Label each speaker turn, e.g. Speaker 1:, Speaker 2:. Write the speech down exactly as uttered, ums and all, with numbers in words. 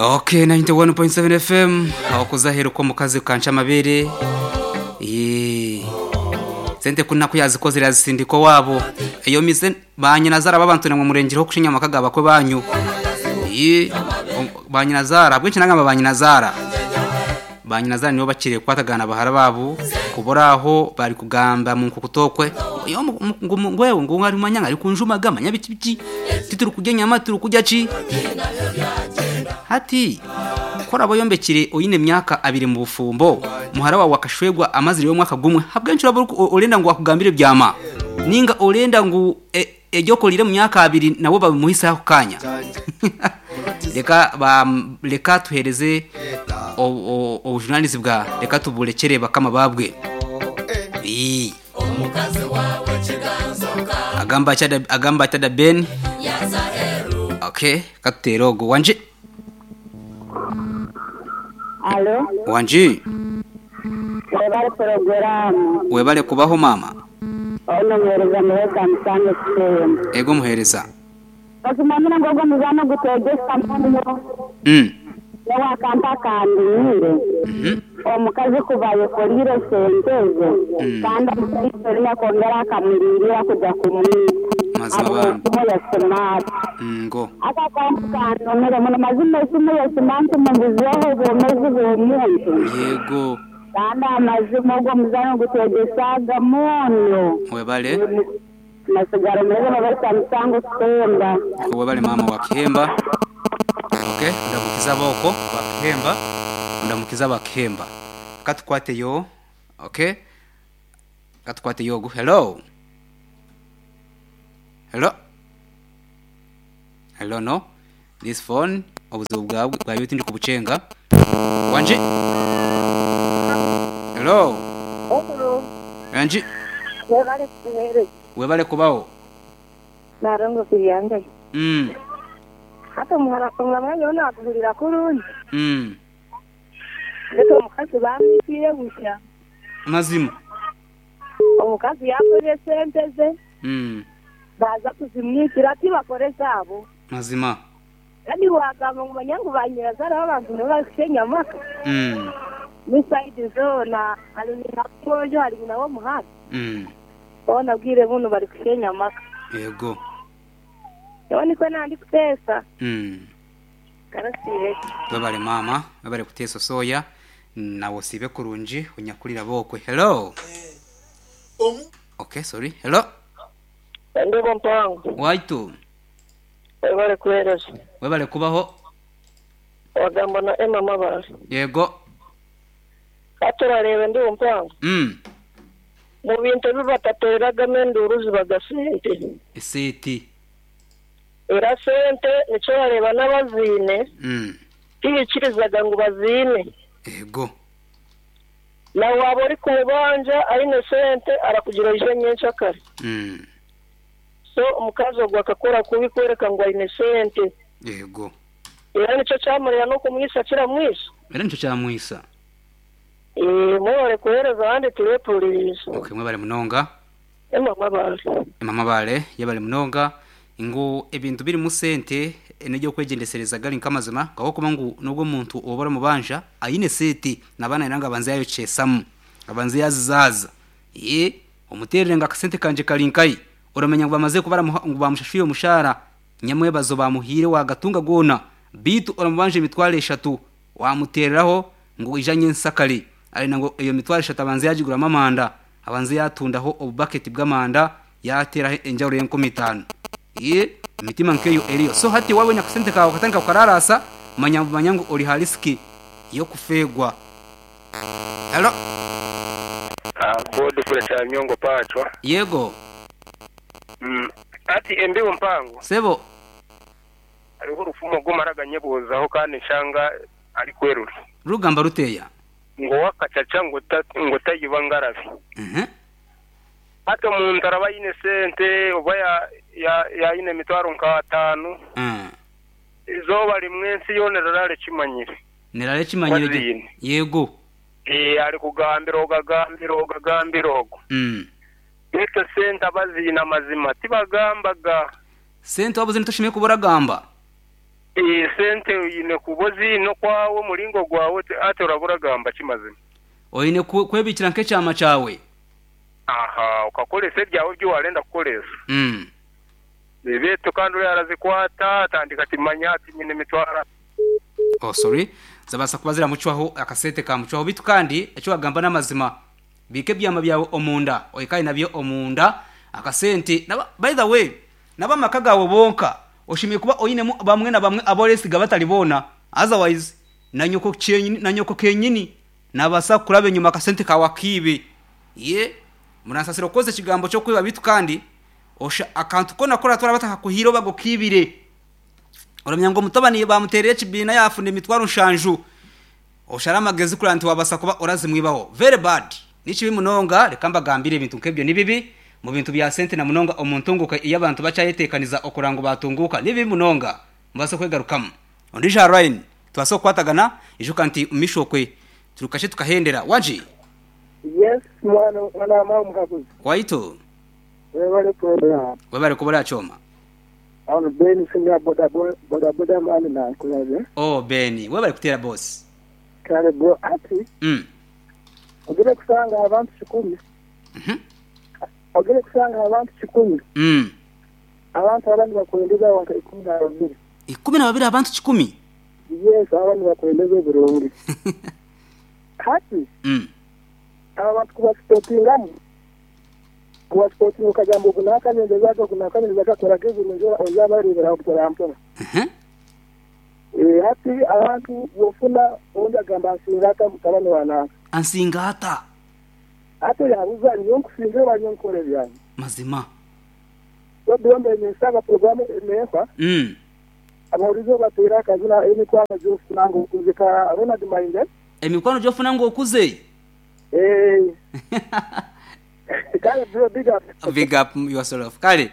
Speaker 1: Okay, ninety one point seven F M aho kuzaheruka omukazi kanca amabere. Yee. Sente kunaku yazikozere yazisindika owabo eyo mize banyinazara babantu namwe murengereho kushinya amaka gabakwe banyu. Yee, banyinazara bwinshi nangamba banyinazara banyinazara nibo bakiriye kukwatagana bahara babo kuburaho bari kugamba mu nkukutokwe yo ngwewe ngo ngari manyanga ari kunjumaga manya biki biki tituri kurya nyama turi kurya ki hati kora boyombekire oyine myaka abiri mu bufumbo muhara wawe akashwegwa amazire y'omwaka gumwe habwenshi uraba orenda ngu akugambire byama ninga orenda ngu eryokorire mu myaka abiri nabo babimuhise ako kanya. Reka ba reka tuhereze obujunanizi bwa reka tuburekere bakama babwe. Ii. Agamba chada agamba chada Ben. Okay, katuterogo wanje.
Speaker 2: Alo.
Speaker 1: Wanje.
Speaker 2: Webale programu.
Speaker 1: Webale kubaho mama.
Speaker 2: Ono muhereza muheza musange kutemba.
Speaker 1: Ego muhereza.
Speaker 2: Basimamira ngogo muzano gutegesa muno.
Speaker 1: Mm.
Speaker 2: Wakampa kandimire.
Speaker 1: Mhm.
Speaker 2: Omukazi kuva yekolire sente ze. Kandi amukalina kongera akamulirira kujya kumwita.
Speaker 1: Mazima bambi.
Speaker 2: Ya smart.
Speaker 1: Ngo.
Speaker 2: Aka kantu kanonere muno mazima esimu ya smart mumbuzeho obwomezi bw'omuntu.
Speaker 1: Yego.
Speaker 2: Kandi amazima ogwo muzano gutegesaga muno.
Speaker 1: Webale.
Speaker 2: Masigaro murebe babarisa musango kutemba.
Speaker 1: Webale mama wa Kihemba. Okay, ndamukiza boko wa Kihemba. Ndamukiza wa Kihemba. Katukwate yo. Okay. Katukwate yo. Hello. Hello. Hello, no. This phone obuzibu bwawe bwa yuti ndi kubucenga. Wanje. Hello.
Speaker 3: Hello.
Speaker 1: Wanje.
Speaker 3: Webale kuhereza.
Speaker 1: Webale kubaho.
Speaker 3: Narongo kuyanga.
Speaker 1: Mm.
Speaker 3: Hata muhara kumwanya yona akuhurira kurungi.
Speaker 1: Mm.
Speaker 3: Ndetse omukazi bamwitire busha.
Speaker 1: Mazima.
Speaker 3: Omukazi yakoze sente ze.
Speaker 1: Mm.
Speaker 3: Baza kuzimwitira ati bakore zabo.
Speaker 1: Mazima.
Speaker 3: Kandi wagamba ngo manyangu banyirazara abantu ntibashenya amaka.
Speaker 1: Mm.
Speaker 3: Ni side zona hari na kojo hari na wo muhanda.
Speaker 1: Mm.
Speaker 3: Bona bwire buno bari kushenya amaka.
Speaker 1: Yego.
Speaker 3: Yo niko nandi kutesa.
Speaker 1: Mm.
Speaker 3: Karasiye.
Speaker 1: Babale mama, babale kutesa soya nawo sibe kurungi onyakulira bokwe. Hello. Okay, sorry. Hello.
Speaker 4: Ndebo mpango.
Speaker 1: Waitu.
Speaker 4: Webale kuhereza.
Speaker 1: Webale kubaho.
Speaker 4: Wagamba na Emma Mabara.
Speaker 1: Yego.
Speaker 4: Aturarebe ndi mpango.
Speaker 1: Mm.
Speaker 4: Mu bintu bibatatereragamo enduru zibaga sente.
Speaker 1: Eseti.
Speaker 4: Era sente nico bareba n'abazine.
Speaker 1: Mm.
Speaker 4: Tihikirizaga ngu bazine.
Speaker 1: Yego.
Speaker 4: Na waba ori kumubanja aine sente arakugira ije nyenshakare.
Speaker 1: Mm.
Speaker 4: So omukazi ogwo akakora kubi kwereka ngu aine sente.
Speaker 1: Yego.
Speaker 4: Era nico kyamurira n'okumwisa kiramwisa.
Speaker 1: Era nico kyamwisa.
Speaker 4: Eh, mwebale kuhereza abandi turepuliriza.
Speaker 1: Okay, mwebale munonga.
Speaker 4: Emma Mabare.
Speaker 1: Emma Mabare, yebale munonga. Ngo ebintu biri mu sente enejyo kwegendesereza gali nkamazima ngaho kuba ngu nubwo muntu obora mubanja ayine sente nabana iranga banze yayo chesamu abanze yazizaza ye omuterere nga kasente kanje kalinkai uramenya ngo bamaze kubara ngo bamushashuye umushara nyamwebazo bamuhire wagatunga gona bitu oramubanje imitware eshatu wamutereraho ngo ijanye nsakali ari nango iyo mitware eshatu abanze yagigura amanda abanze yatundaho obubucket bw'amanda yatera enjawuro y'enkumi itanu. Ye mitima nkeyo eriyo so hati wawe nyakusente kawe katanga ukararasa manyangu manyangu ori hariski yo kufegwa. Hello.
Speaker 5: Ah, bodi kule cha nyongo pachwa.
Speaker 1: Yego.
Speaker 5: Mm. Ati embi mpango.
Speaker 1: Sebo.
Speaker 5: Ariho rufumo gumaraga nyebuzaho kandi nshanga ari kwerura.
Speaker 1: Rugamba ruteya.
Speaker 5: Ngo wakacaca ngo ngo tayiba ngarabi.
Speaker 1: Mhm.
Speaker 5: Hato muntu araba yine sente oba ya ya ya yine mitwaro nka atanu.
Speaker 1: Mm.
Speaker 5: Izoba rimwe nsi yone rarare kimanyire.
Speaker 1: Nerare kimanyire. Yego.
Speaker 5: Eh ari kugambira ogagambira ogagambira ogo.
Speaker 1: Mm.
Speaker 5: Eto sente abazina mazima tibagambaga.
Speaker 1: Sente wabuze ntoshimye kuboragamba.
Speaker 5: Eh, sente oyine kuba oziine okwawe omuringo gwawe ati- ati orabura gamba kimazima.
Speaker 1: Oine ku- kwebikira nk'ekyama kyawe.
Speaker 5: Aha, ukakoresa ebyawe ebyo warenda kukoresa.
Speaker 1: Mm.
Speaker 5: Betu kandi uriya arazikwata atandika ati manya ati nyine emitwaro.
Speaker 1: Oh sorry, zabasa kuba ziramucwaho akasente kamucwaho bitu kandi ekyo wagamba n'amazima. Bike ebyama byawe omunda, oikaye nabyo omunda akasente. Naba, by the way, n'abamaka gawe bonka oshimiye kuba oyinemu bamwe na bamwe aboresiga batalibona. Otherwise na nyoko cyenyini na nyoko kenyini nabasa kuraba enyuma akasente kawe akibe. Ye muransasira okoze ekigambo cyo kwiba bitu kandi osha akantu kona kora twara batakakuhira bagukibire. Oramya ngo mutabani bamutereye ekibina yafuna emitwaro nshanju. Oshara amagezi kura nti wabasa kuba orazimwibaho. Very bad. Nikibi munonga reka mbagambire ebintu nk'ebyo ni bibi mu bintu bya sente na munonga omuntunguka iyo abantu bacayetekaniza okurango batunguka ni bibi munonga mubasa kwegarukamu. Ondija line tubasa okukwatagana ijuka nti mishokwe turukashe tukahendera waji
Speaker 4: Yes, mwana mwana mama mukakuzi.
Speaker 1: waito
Speaker 4: Webale program.
Speaker 1: webare kubura choma.
Speaker 4: Ano Ben simya boda boda boda mani na kulabe.
Speaker 1: Oh Beni webare kutera boss.
Speaker 4: Kale bro ati
Speaker 1: Mm.
Speaker 4: ogere kusanga abantu kikumi.
Speaker 1: Mhm.
Speaker 4: Ogere kusanga abantu kikumi.
Speaker 1: Mm.
Speaker 4: Abantu abandi bakwendeza wanka ikumi na babiri.
Speaker 1: Ikumi na babiri abantu kikumi.
Speaker 4: Yes, abandi bakwendeza ebirungi. Hati
Speaker 1: Mm.
Speaker 4: aba bantu kubasipootingamu kubasipootinga okagamba ogu naakanyendeza ogu naakanyendeza akakora k'ebirungi ozabareebera mpora mpora.
Speaker 1: Mhm.
Speaker 4: Eh, hati abantu bwofuna ondi agamba nsinga ata mutabani wa nanka.
Speaker 1: Ansinga ata
Speaker 4: Ate yabuza niyo nkusinga oba niyo nkora ebyange.
Speaker 1: mazima.
Speaker 4: Byombe ninsaba programu eneefa
Speaker 1: Mm.
Speaker 4: abawulize bateera akazina emikwano gy'ofuna ng'okuze ka Ronald Mayinja.
Speaker 1: Emikwano gyofuna ng'okuze.
Speaker 4: Eh, kale bro big up.
Speaker 1: Big up yourself. Kale.